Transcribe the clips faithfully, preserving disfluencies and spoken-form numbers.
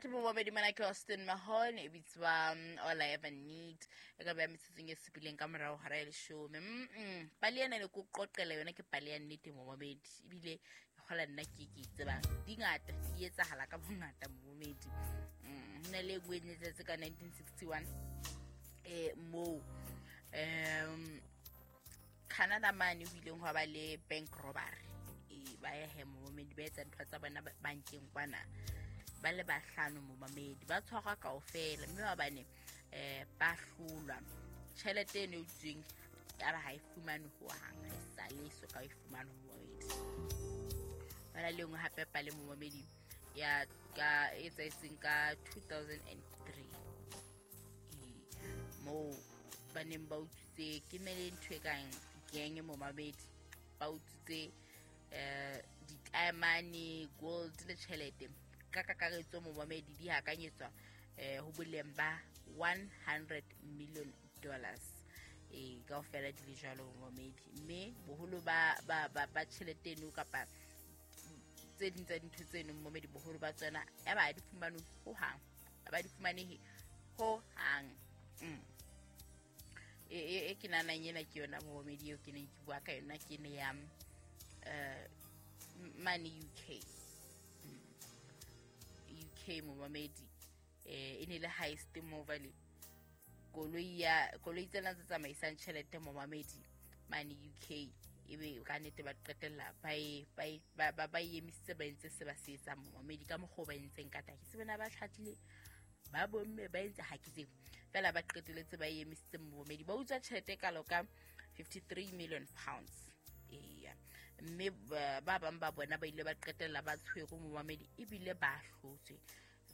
Right, momamedi, mana ke Austin Mahon e bitswa mm, All I Ever Need, e ka beha metsotsong e supileng ka morao hora ya leshome. Mm pale ena ne ko qoqela yona, ke pale ya nnete, momamedi, ebile e kgola nna ke ke tsebang di ngata, di etsahala ka bongata, momamedi. Mm, ho na le e nngwe e ne etsahetse ka nineteen sixty-one, eh moo um Canada mane ho ileng hwa ba le bank robbery. E ba ya he, momamedi, ba etsa ntho tsa bona ba- bankeng kwana, ba le bahlano, momamedi, ba tshwarwa kaofela, mme ba bane um ba hlolwa. Tjhelete eno e utsweng ya ba ha e fumane hohang, ha e sale e soka e fumane, momamedi. Bana le nngwe hape pale, momamedi, ya ka e etsahetseng ka two thousand and three, ee, moo ba neng ba utswitse, ke mele ntho e kang gang, momamedi, ba utswitse um ditaemane, gold le tjhelete ka kakaretso, momamedi, di hakanyetswa um ho boleng ba one hundred million dollars. Ee, kaofela di le jwalo, momamedi, mme boholo ba ba ba ba tjhelete eno kapa tse ding tsa dintho tseno, momamedi, boholo ba tsona ya ba ha di fumanwe hohang, ha ba di fumanehe hohang. mm. e e- e ke nahanang ena ke yona, momamedi, eo ke neng ke bua ka yona, ke ne ya eh mane U K. Mm. U K, momamedi, eh e ne le heist mo vale koloi ya koloi tsena tse tsamaisang tjhelete, momamedi, mane U K, ebe ka nnete ba qetella ba e ba e- ba ba ba e emisitse, ba entse se ba se etsang, momamedi, ka mokgwa o ba entseng ka teng. Ke se bona ba tlhatlile ba bomme ba entse, ha ke tsebe, fela ba qeteletse ba e emisitse, momamedi, ba utswa tjhelete e kalo ka fifty-three million pounds. Eya, mme ba ba bang ba bona ba ile ba qetella ba tshwerwe, momamedi, ebile ba hlotswe.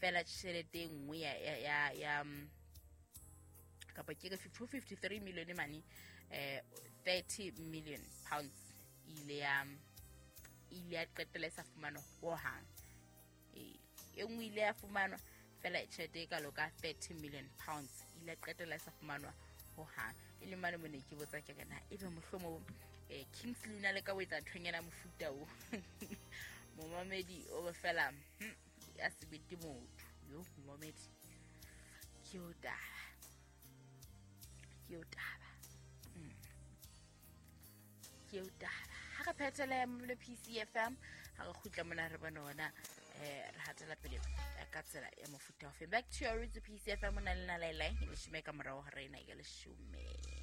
Fela tjhelete e nngwe ya ya ya, ya mm, kapa ke re fifty-three million mane, eh thirty million pounds ile ya ile ya qetella e sa fumanwa hohang. Ee, e nngwe ile ya fumanwa, fela tjhelete e kalo ka thirty million pounds ile ya qetella e sa fumanwa hohang. E le mane mo ne ke botsa ke re, na ebe mohlomong um Kingsley o na le ka o etsa nthonyana mofuta o, momamedi, o be fela hmm, ya sebete motho yo, momamedi, ke o taba, ke o taba, Mm. ke o taba. Ha re phethele mo P C F M, ha re kgutla mona, re bone hona eh re hatela pele eh, ka tsela ya mofuta ofe. Back to your roots, P C F M, o na le nalaelai leshome ka morao ho rena ya leshome.